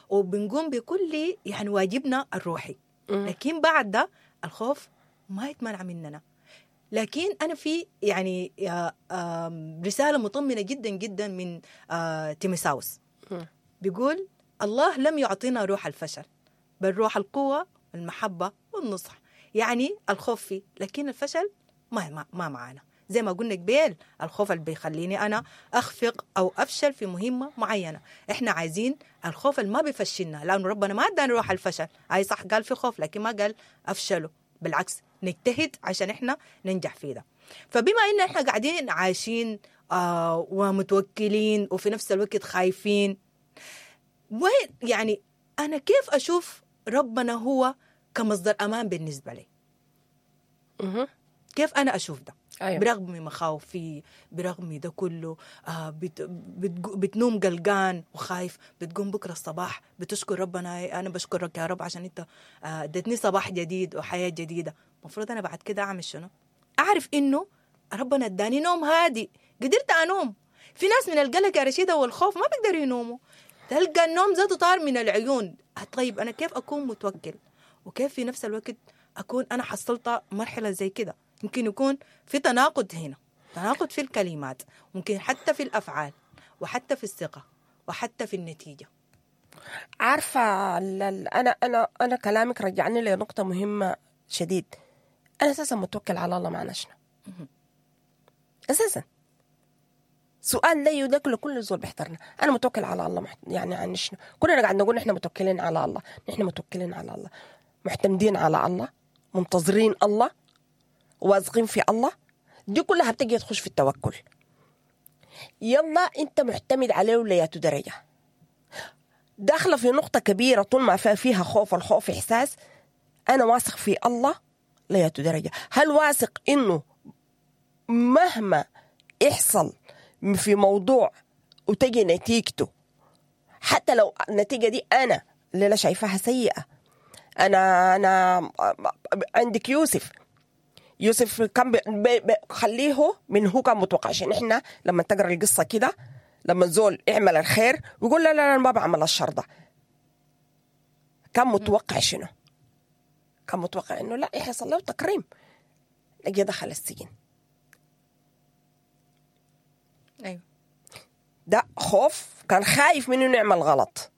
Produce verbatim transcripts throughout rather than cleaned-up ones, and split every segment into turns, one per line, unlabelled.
وبنقوم بكل يعني واجبنا الروحي. لكن بعد ده الخوف ما يتمنع مننا. لكن أنا في يعني رسالة مطمئنة جدا جدا من تيموثاوس، بيقول الله لم يعطينا روح الفشل بل روح القوة والمحبة والنصح. يعني الخوف فيه، لكن الفشل ما ما معانا. زي ما قلنا قبيل، الخوف اللي بيخليني أنا أخفق أو أفشل في مهمة معينة. إحنا عايزين الخوف اللي ما بيفشلنا، لأنه ربنا ما أدانا روح الفشل. أي صح قال في خوف، لكن ما قال أفشله، بالعكس نجتهد عشان إحنا ننجح فيه ده. فبما إن إحنا قاعدين عايشين آه ومتوكلين وفي نفس الوقت خايفين، وين يعني أنا كيف أشوف ربنا هو كمصدر أمان بالنسبة لي؟ كيف أنا أشوف ده؟
أيوة.
برغم مخاوفي، برغم ده كله، آه بت بت بتنوم قلقان وخايف، بتقوم بكرة الصباح بتشكر ربنا، أنا بشكرك يا رب عشان أنت اديتني صباح جديد وحياة جديدة. المفروض أنا بعد كده أعمل شنو؟ أعرف إنه ربنا اداني نوم هادي، قدرت أنوم. في ناس من القلق يا رشيدة والخوف ما بيقدروا ينوموا، تلقى النوم ذاته طار من العيون. طيب أنا كيف أكون متوكل وكيف في نفس الوقت أكون أنا حصلت مرحلة زي كده؟ ممكن يكون في تناقض هنا، تناقض في الكلمات، ممكن حتى في الأفعال وحتى في الثقة وحتى في النتيجة.
عارفة أنا أنا أنا كلامك رجعني لنقطة مهمة شديد. أنا أساسا متوكل على الله معنا شنو؟ أساسا سؤال لا يدرك لكل زول بيحضرنا. أنا متوكل على الله يعني عن شنو؟ كلنا قاعد نقول نحن متوكلين على الله، نحن متوكلين على الله، معتمدين على الله، منتظرين الله، واثقين في الله. دي كلها بتجي تخش في التوكل. يلا انت معتمد عليه ولياتو درجة داخلة في نقطة كبيرة طول ما فيها خوف. الخوف إحساس أنا واثق في الله لياتو درجة. هل واثق إنه مهما يحصل في موضوع وتجي نتيجته، حتى لو النتيجة دي أنا اللي لا شايفاها سيئة، أنا أنا عندك يوسف، يوسف كان بي بي خليه من هو كان متوقع. عشان إحنا لما تقرأ القصة كده، لما زول يعمل الخير ويقول لا لا لا ما بعمل الشر ده، كان متوقع شنو؟ كان متوقع إنه لا يحصل له تكريم، لقي دخل السجن.
أيوه
ده خوف، كان خايف منه نعمل غلط،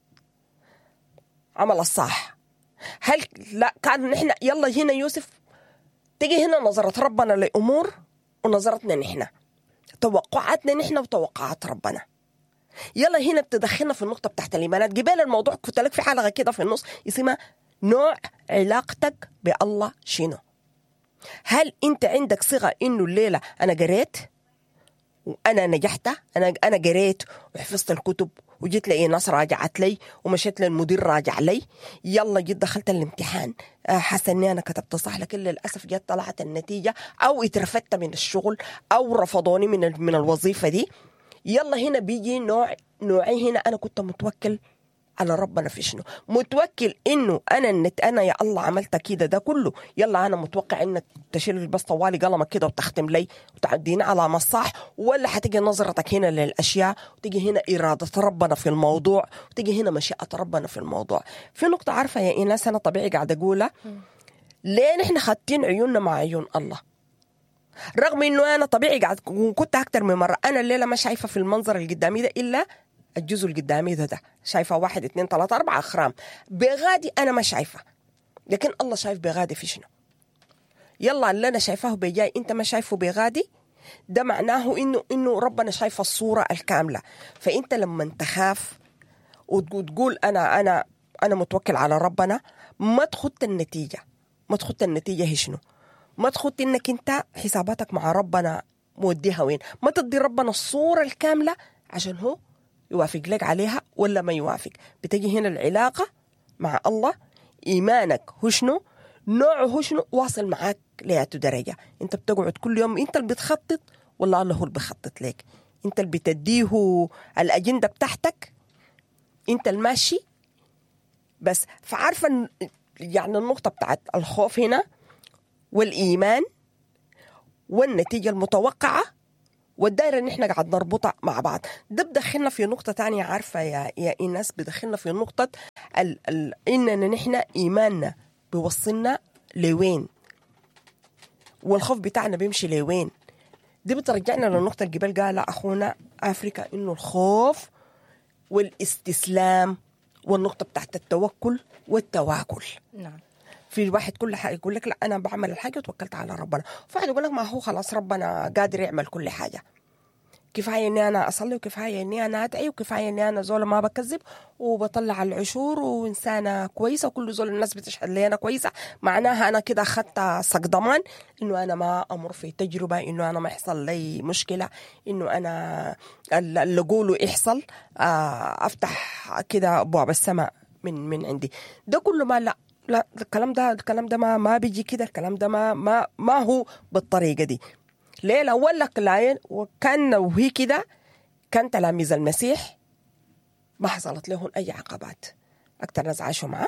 عمل الصح. هل لا كان نحن يلا هنا يوسف تيجي هنا نظرة ربنا لأمور ونظرتنا نحن، توقعاتنا نحن وتوقعات ربنا. يلا هنا بتدخلنا في النقطة بتاعت الإيمانات. قبل الموضوع كنت لك في حلقة كده في النص اسمها نوع علاقتك بالله شنو. هل أنت عندك صيغة إنه الليلة أنا قريت وأنا نجحت، أنا أنا قريت وحفظت الكتب وجيت لي ناس راجعت لي ومشيت للمدير راجع لي، يلا جيت دخلت الامتحان حاسه اني انا كتبت صح، لكن للاسف جت طلعت النتيجة او اترفدت من الشغل او رفضوني من من الوظيفة دي. يلا هنا بيجي نوع نوعي. هنا انا كنت متوكل على ربنا في شنو؟ متوكل انه انا النت انا يا الله عملت كده ده كله، يلا انا متوقع انك تشيل بس طوالي قلمك كده وتختم لي وتعديني على ما الصح، ولا حتيجي نظرتك هنا للاشياء وتيجي هنا اراده ربنا في الموضوع وتيجي هنا مشيئة ربنا في الموضوع. في نقطة عارفه يا ايناس انا طبيعي قاعدة اقولها، ليه نحن خاتين عيوننا مع عيون الله؟ رغم انه انا طبيعي قاعد وكنت اكتر من مرة انا الليلة ما شايفه في المنظر اللي قدامي ده الا الجزء اللي قدامي ده, ده شايفة واحد اثنين ثلاثة أربعة أخرام بغادي أنا ما شايفة، لكن الله شايف بغادي في شنو. يلا اللي أنا شايفاه بجاي أنت ما شايفه بغادي، ده معناه إنه إنه ربنا شايف الصورة الكاملة. فأنت لما تخاف وتقول أنا أنا أنا متوكل على ربنا، ما تخط النتيجة، ما تخط النتيجة هي شنو، ما تخط إنك أنت حساباتك مع ربنا موديها وين، ما تدي ربنا الصورة الكاملة عشان هو يوافق لك عليها ولا ما يوافق. بتجي هنا العلاقة مع الله، إيمانك هو شنو، نوعه هو شنو، واصل معاك لياتو درجة. أنت بتقعد كل يوم أنت اللي بتخطط ولا الله هو اللي بيخطط لك؟ أنت اللي بتديه الأجندة بتاعتك، أنت الماشي بس. فعارفة يعني النقطة بتاعت الخوف هنا والإيمان والنتيجة المتوقعة والدائره اللي احنا قاعد نربطها مع بعض. ده بدخلنا في نقطة تانية، عارفه يا يا ايناس، بدخلنا في نقطة ال ال اننا نحن ايماننا بيوصلنا لوين والخوف بتاعنا بيمشي لوين. دي بترجعنا للنقطة اللي قبل قالها اخونا افريكا، انه الخوف والاستسلام والنقطة بتاعت التوكل والتواكل.
نعم.
في الواحد كل حاجة يقول لك لا انا بعمل الحاجة وتوكلت على ربنا، فواحد يقول لك ما هو خلاص ربنا قادر يعمل كل حاجة، كفاية اني انا اصلي وكفاية اني انا ادعي وكفاية اني انا زول ما بكذب وبطلع العشور وانسانه كويسة وكل زول الناس بتشهد لي انا كويسة، معناها انا كده اخذت صك ضمان انه انا ما امر في تجربه، انه انا ما يحصل لي مشكلة، انه انا اللي اقوله يحصل، افتح كده ابواب السماء من من عندي. ده كله ما لا لا الكلام ده الكلام ده ما ما بيجي كده، الكلام ده ما ما ما هو بالطريقة دي. ليه؟ لو لك لاين وكان وهي كده كان تلاميذ المسيح ما حصلت لهم اي عقبات، اكثر ناس عاشوا معه،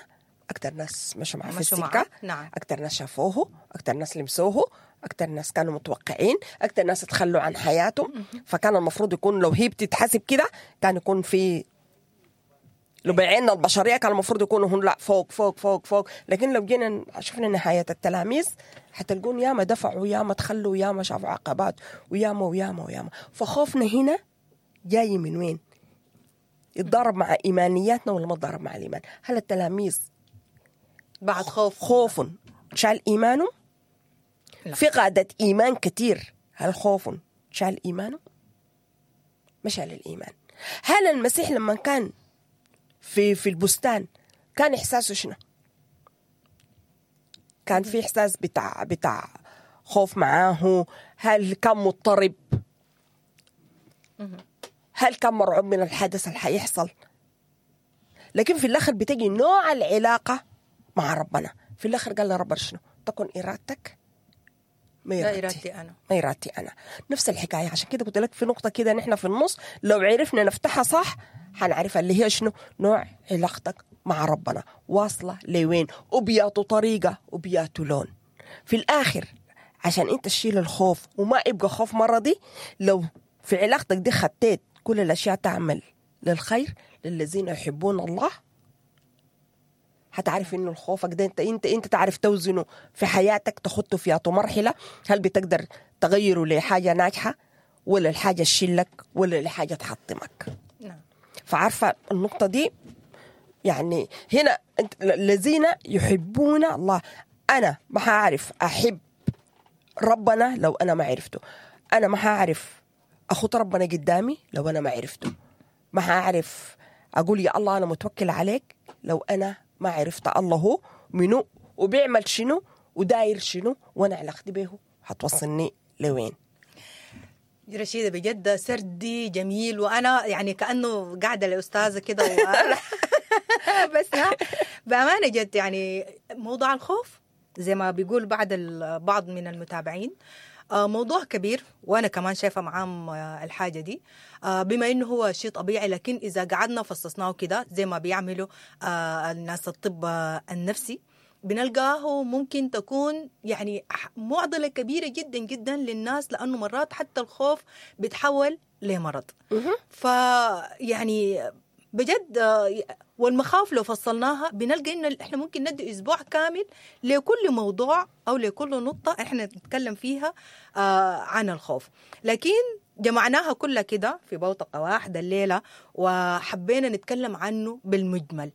اكثر ناس مشوا معه في السكة،
نعم.
اكثر ناس شافوه، اكثر ناس لمسوه، اكثر ناس كانوا متوقعين، اكثر ناس تخلوا عن حياتهم. فكان المفروض يكون لو هي بتتحسب كده كان يكون في لو بعيننا البشرية كان المفروض يكونوا هن لا فوق فوق فوق فوق. لكن لو جينا شفنا نهاية التلاميذ حتلقون ياما دفعوا ياما تخلوا ياما شافوا عقبات وياما وياما وياما. فخوفنا هنا جاي من وين؟ يتضارب مع ايمانياتنا ولا ما تضارب مع الايمان؟ هل التلاميذ
بعد خوف
خوف شال ايمانه؟ في قادة ايمان كتير، هل خوف شال ايمانه؟ ما شال الايمان. هل المسيح لما كان في في البستان كان احساسه شنو؟ كان في احساس بتاع بتاع خوف معاه؟ هل كان مضطرب؟ هل كان مرعوب من الحدث اللي حيحصل؟ لكن في الاخر بتجي نوع العلاقة مع ربنا. في الاخر قال لربنا شنو؟ تكن ارادتك ما
ارادتي, إرادتي انا
ما ارادتي انا. نفس الحكاية. عشان كده قلت لك في نقطة كده نحن في النص لو عرفنا نفتحها صح حنعرفها، اللي هي شنو؟ نوع علاقتك مع ربنا واصله لوين، وبياتو طريقه وبياتو لون. في الاخر عشان انت تشيل الخوف وما يبقى خوف مرضي، لو في علاقتك دي خطيت كل الاشياء تعمل للخير للذين يحبون الله، هتعرف انه الخوفك ده انت انت انت تعرف توزنه في حياتك، تخطه في مرحلة. هل بتقدر تغيره لحاجة ناجحة ولا الحاجة تشيلك ولا لحاجة تحطمك؟
نعم.
فعارفه النقطة دي يعني هنا الذين يحبون الله. انا ما هعرف احب ربنا لو انا ما عرفته، انا ما هعرف اخط ربنا قدامي لو انا ما عرفته، ما هعرف اقول يا الله انا متوكل عليك لو انا ما عرفت الله هو منو وبيعمل شنو وداير شنو وانا علاقتي به هتوصلني لوين.
رشيدة بجد سردي جميل، وانا يعني كانه قاعدة لاستاذه كده و... بس بامانه جد يعني موضوع الخوف زي ما بيقول بعض بعض من المتابعين موضوع كبير، وانا كمان شايفه معاهم الحاجة دي بما انه هو شيء طبيعي، لكن اذا قعدنا فصصناه كده زي ما بيعملوا الناس الطب النفسي بنلقاه ممكن تكون يعني معضلة كبيرة جدا جدا للناس، لانه مرات حتى الخوف بيتحول لمرض. فيعني بجد والمخاوف لو فصلناها بنلقى انه احنا ممكن ندي اسبوع كامل لكل موضوع او لكل نقطة احنا نتكلم فيها عن الخوف، لكن جمعناها كلها كده في بوتقه واحدة الليلة وحبينا نتكلم عنه بالمجمل.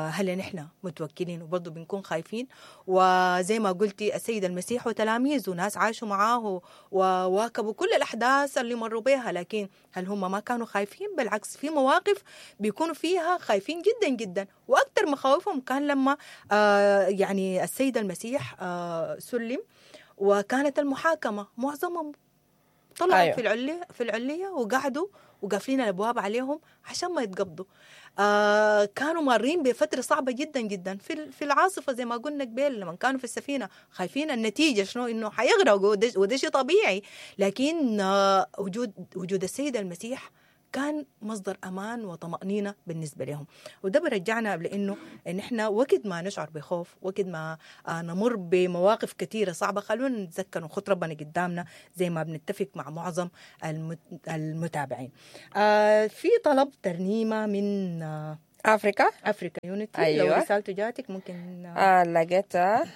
هل نحن متوكلين وبرضه بنكون خايفين؟ وزي ما قلتي السيد المسيح وتلاميذه ناس عاشوا معاه وواكبوا كل الأحداث اللي مروا بها، لكن هل هم ما كانوا خايفين؟ بالعكس، في مواقف بيكونوا فيها خايفين جدا جدا، وأكثر مخاوفهم كان لما آه يعني السيد المسيح آه سلم وكانت المحاكمة، معظمهم طلعوا أيوه. في العلية في العلية وقعدوا وقافلين الابواب عليهم عشان ما يتقبضوا. آه كانوا مارين بفترة صعبة جدا جدا في في العاصفة زي ما قلنا قبل، لما كانوا في السفينة خايفين النتيجة شنو، انه حيغرقوا، وده شيء طبيعي، لكن آه وجود وجود السيد المسيح كان مصدر امان وطمانينة بالنسبة لهم. وده برجعنا لانه ان احنا وقت ما نشعر بخوف، وقت ما آه، نمر بمواقف كثيرة صعبة، خلونا نتذكر ونخط ربنا قدامنا زي ما بنتفق مع معظم المت- المتابعين. آه، في طلب ترنيمة من آه،
افريكا
Africa Unity. لو
أيوة.
رسالته جاتك ممكن آه،
آه لقيتها.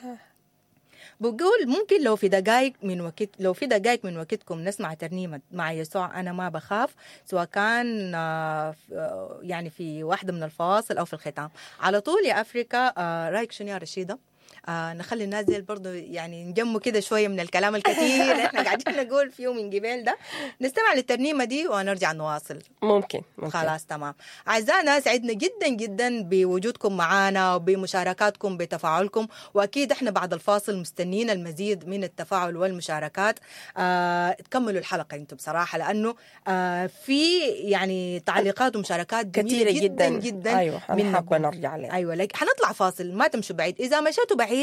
بقول ممكن لو في دقائق من وقت، لو في دقائق من وقتكم نسمع ترنيمة مع يسوع أنا ما بخاف، سواء كان آه، ف- آه، يعني في واحدة من الفواصل أو في الختام على طول. يا أفريكا، آه، رأيك شنو يا رشيدة؟ آه نخلي الناس دي برضه يعني نجموا كده شوية من الكلام الكثير اللي احنا قاعدين نقول فيه من قبل ده، نستمع للترنيمة دي ونرجع نواصل.
ممكن ممكن.
خلاص تمام. أعزائنا، سعدنا جدا جدا بوجودكم معنا وبمشاركاتكم، بتفاعلكم، وأكيد احنا بعد الفاصل مستنين المزيد من التفاعل والمشاركات. آه تكملوا الحلقة انتم بصراحة، لأنه آه في يعني تعليقات ومشاركات جميلة
كثيرة
جدا
جدا
جدا.
ايوه، انا
منكم.
حابة نرجع لها.
ايوه، لك حنطلع فاصل، ما تمشوا بعيد. اذا مشيتوا بعيد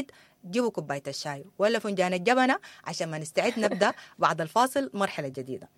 جيبوا كوباية الشاي ولا فنجان الجبنة عشان ما نستعد نبدا بعد الفاصل مرحلة جديدة.